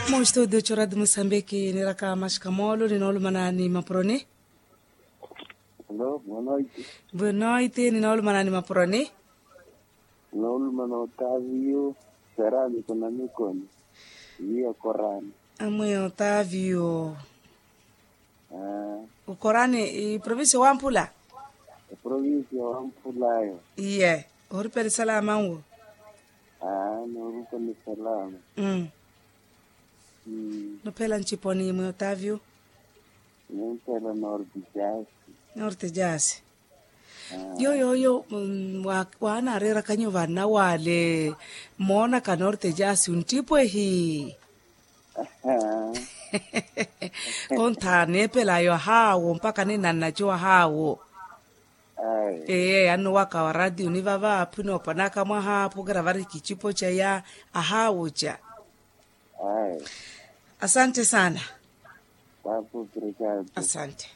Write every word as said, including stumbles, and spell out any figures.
Mustudio choradi musambiki niraka mashikamoolo ninoolumana ni mapuroni. Hello, boa noite. Boa noite, ninoolumana ni mapuroni. Ninoolumana otavio, serani kuna mikoni. Via korani. Amwe otavio. Ukorani iprovincia wamphula. Iprovincia wamphulayo. Iye, oripela esalamanwo. Norupa ni salama. Nuphela nciponi mwe otavio. Nuphela norte jasi. Norte jasi. Yo yo yo. Waanareerakanyo vana wale moonaka norte jasi untipwehi. Kontha neepelayo ahaawo mpakha ninannaco ahaawo. Ee annuwaka wa ratiyuni vava aphwinoopanaka mwaha phukira vari kicipo caya. Ahaawo ca. Asante sana. Asante.